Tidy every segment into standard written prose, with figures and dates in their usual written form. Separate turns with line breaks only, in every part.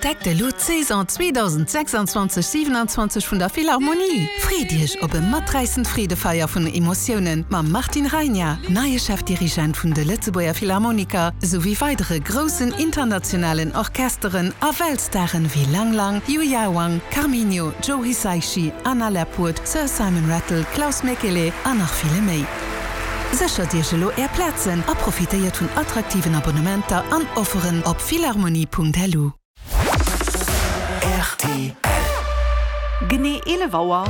Entdeckt elo d'Saison 2026 27 vun der Philharmonie! Freet Iech op e maträissend Freedefeier vun Emotiounen mam Martin Rajna, neie Chefdirigent vun de Lëtzebuerger Philharmoniker, souwéi weidere groussen internationalen Orchesteren a Weltstaren wéi Lang Lang, Yuya Wang, Carminho, Joe Hisaishi, Anna Lapwood, Sir Simon Rattle, Klaus Mäkelä an nach ville méi. Séchert Iech elo Är Plazen a profitéiert vun attraktiven Abonnementer an Offeren op philharmonie.lu.
Rtl.
Genee 11 Auer.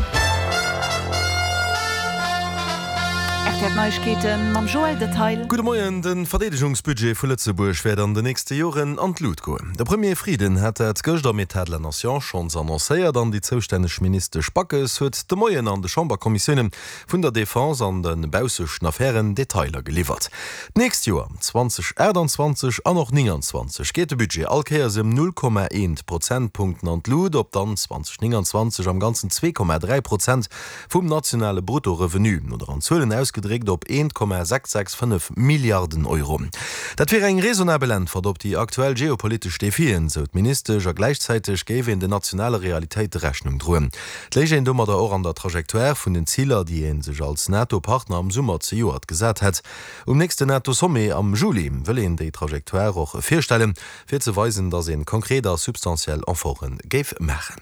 Rtl Neiegkeete mam Joël Detail.
Gudde Moien, De Verdeedegungsbudget vu Lëtzebuerg wäert an de nächste Joren an d'Lut goen. De Premier Frieden hat dat gëscht am Etat de la Nation schonns annoncéiert an déi zoustänneg Ministesch Backes huet de Moien an de Chamberkommissiounen vun der Defense an de baussechten Affären Detailer geliwwert. D'nächst Joer, 2028 an och 29, geet de Budget all Kéiers ëm 0,1 Prozentpunkten an d'Lut, op dann 2029 am Ganzen 2,3 Prozent vum nationale Bruttorevenu, oder an Zuelen ausgedréckt op 1,665 Milliarden Euro. Dat wier eng raisonnabel Äntwert op déi aktuell geopolitesch Defien, sou d'Ministesch, a gläichzäiteg géif een den nationale Realitéite Rechnung droen. Et léich een domadder och an der Trajectoire vun den Ziler, déi ee sech als NATO-Partner am Summer zejoert gesat hätt. Um nächsten NATO-Sommet am Juli wëll een déi Trajectoire och virstellen, fir ze weisen, datt ee konkret a substantiell Efforte géif maachen.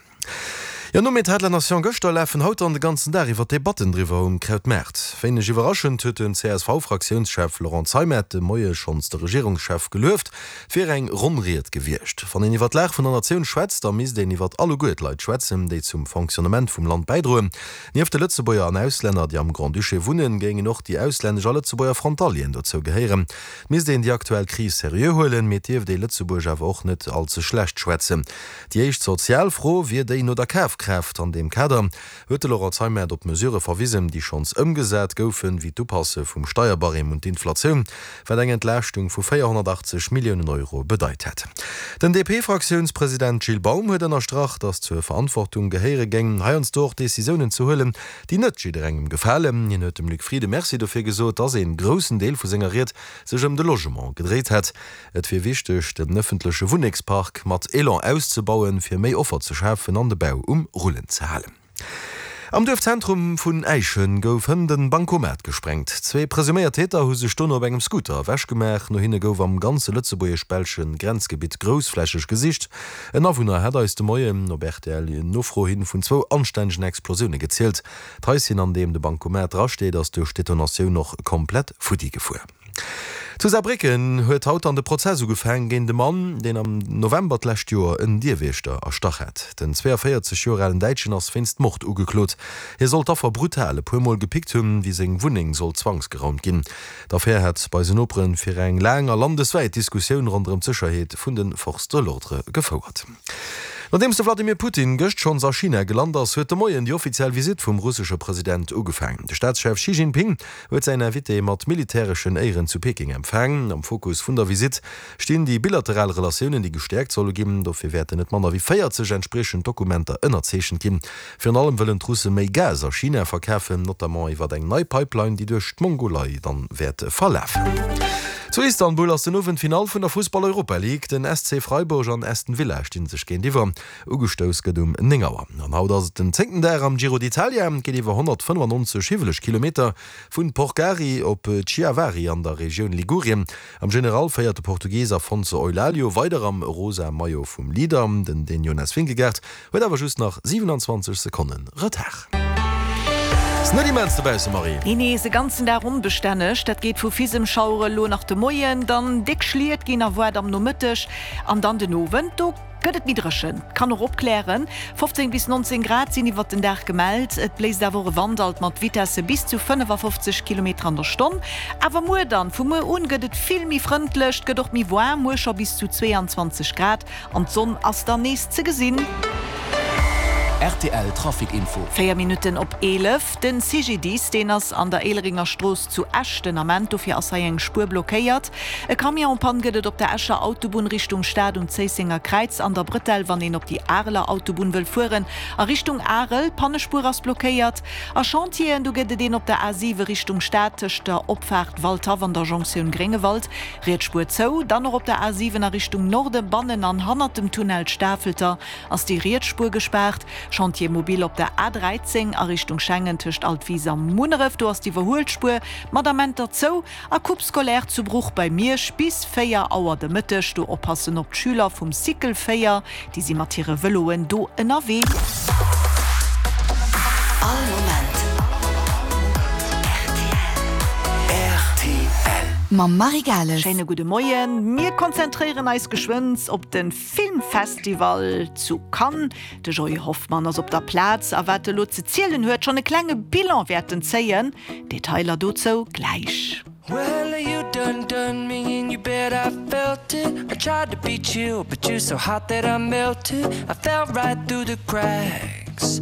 Jo, nom Etat de la Nation gëschter lafen haut dann de ganzen Dag iwwer d'Debatten driwwer um Krautmaart. Wéineg iwwerraschend huet den CSV-Fraktiounschef Laurent Zeimet de Moie schonns de Regierungschef gelueft. Et wier eng ronn Ried gewiescht. Wann een iwwer d'Lag vun der Natioun schwätzt, da misst een iwwer alleguer d'Leit schwätzen, déi zum Fonctionnement vum Land bäidroen. Nieft de Lëtzebuerger an Auslänner, déi am Grand-Duché wunnen, géingen och déi auslännesch a Lëtzebuerger Frontalieren dozou gehéieren. Et misst een déi aktuell Kris seriö huelen, mee et dierft ee Lëtzebuerg awer och net all ze schlecht schwätzen. Déi éischt sozial Fro wier déi no der Kafkraaft. An deem Kader huet de Laurent Zeimet op Mesurë verwisen, déi schonns ëmgesat goufen, wéi d'Upasse vum Steierbarème un d'Inflatioun, wat eng Entlaaschtung vu 480 Milliounen Euro bedeit hätt. Den DP-Fraktiounspresident Gilles Baum huet ënnerstrach, datt zur Verantwortung gehéiere géing, heiansdo och Decisiounen ze huelen, déi net jidderengem gefalen. Hien huet dem Luc Frieden Merci dofir gesot, datt een groussen Deel vu senger Ried sech ëm de Logement gedréit hätt. Et wier wichteg, den ëffentleche Wunnengspark mat Elan auszebauen, fir méi Offer ze schafen an de Bau um Rullen ze halen. Am Duerfzentrum vun Äischen gouf hënt en Bancomat gesprengt. Zwee presuméiert Täter hu sech dono op engem Scooter ewech gemaach. No hinne gouf am ganze lëtzebuergesch-belsche Grenzgebitt groussflächeg gesicht. En Awunner hat eis de Moien op rtl Nofro hin vun zwou anstännegen Explosioune gezielt. D'Haischen, an deem de Bancomat drasteet, ass duerch d'Detonatioun och komplett futti gefuer. Zu Saarbrécken huet haut dann de Prozess ugefaang géint e Mann, deen am November d'lescht Joer en Dierwiechter erstach hat. Den 42 Joer alen Däitschen ass wéinst Mord ugeklot. Hie soll d'Affer brutal e puer Mol gepickt hunn, wéi seng Wunneng sollt zwangsgeraumt ginn. D'Affär hat bei sen Nopere fir eng laang a landeswäit Diskussioun ronderëm d'Sécherheet vun de Forces de l'ordre gefouert. Nodeems de Vladimir Putin gëscht schonns a China gelant ass, huet de Moien déi offiziell Visitt vum russesche President ugefaang. De Staatschef Xi Jinping huet säin Invité mat militäreschen Éieren zu Peking empfaang. Am Fokus vun der Visitt stinn déi bilateral Relatiounen, déi gestäerkt solle ginn. Dofir wäerten net manner wéi 40 entspriechend Dokumenter ënnerzeechent ginn. Virun allem wëllen d'Russe méi Gas a China verkafen, notamment iwwer eng nei Pipeline, déi duerch d'Mongolei dann wäert verlafen. Zu Istanbul ass den Owend d'Finall vun der Fussball-Europa League. Den SC Freiburg an Aston Villa sti sech géintiwwer. Ugestouss gëtt um 9 Auer. An haut ass et den zéngten Dag am Giro d'Italia. Et geet iwwer 195 hiwweleg Kilometer vun Porcari op Chiavari an der Regioun Ligurien. Am General féiert de Portugis Afonso Eulalio weider am rosa Maillot vum Leader. Den Dän Jonas Vingegaard huet awer just nach 27 Sekonne Retard. Ass net immens dobausse Marie.
Nee, nee, se ganzen Dag onbestänneg. Dat geet vu Fisemschauere lo nach de Moien, dann déck Schliet ginn erwaart am Nomëtteg an dann den Owend. Do Gëtt et méi dréchen, kann och opklären. 15 bis 19 Grad sinn iwwert den Dag gemellt. Et bléist awer och e Wand alt mat Vitesse bis zu 55 Kilometer an der Stonn. Awer muer dann, vu muer un gëtt et vill méi frëndlech, et gëtt och méi waarm, muer scho bis zu 22 Grad an d'Sonn ass dann nees ze gesinn.
Rtl Trafic Info.
4 Minutten op 11, Den CGDIS, deen ass an der Éilerenger Strooss zu Esch den Ament. Dofir ass hei eng Spuer blockéiert. E Camion en panne gëtt et op der Escher Autobunn Richtung Stad um Zéissenger Kräiz an der Brëtell, wann een op déi Areler Autobunn wëll fueren a Richtung Arel. D'Pannespuer ass blockéiert. A Chantieren, do gëtt et een op der A7 Richtung Stad tëscht der Opfaart Waldhaff an der Jonktioun Gréngewald. Riets Spuer zou. Dann och op der A7 a Richtung Norde bannen an hannert dem Tunnel Stafelter ass déi riets Spuer gespaart. Chantier mobile op der A13 a Richtung Schengen tëscht Altwis a Munneref, do ass d'Iwwerhuelspuer mat Amenter zou. A Coupe scolaire zu Bruch bei Miersch bis 4 Auer de Mëtteg. Do oppassen op d'Schüler vum Cycle 4, déi si mat hire Vëloen do ënnerwee.
All Moment rtl. Mam Marie Gales.
Schéine gudde Moien. Mir konzentréieren eis geschwënn op de Filmfestival zu Cannes. De Joy Hoffmann ass op der Plaz a wat e lo ze zielen huet, schonn e klenge Bilan wäerten zéien. Detailer dozou gläich.
Well you done done me and you bet I felt it I tried to be chill but you're so hot that I melted I fell right through the cracks.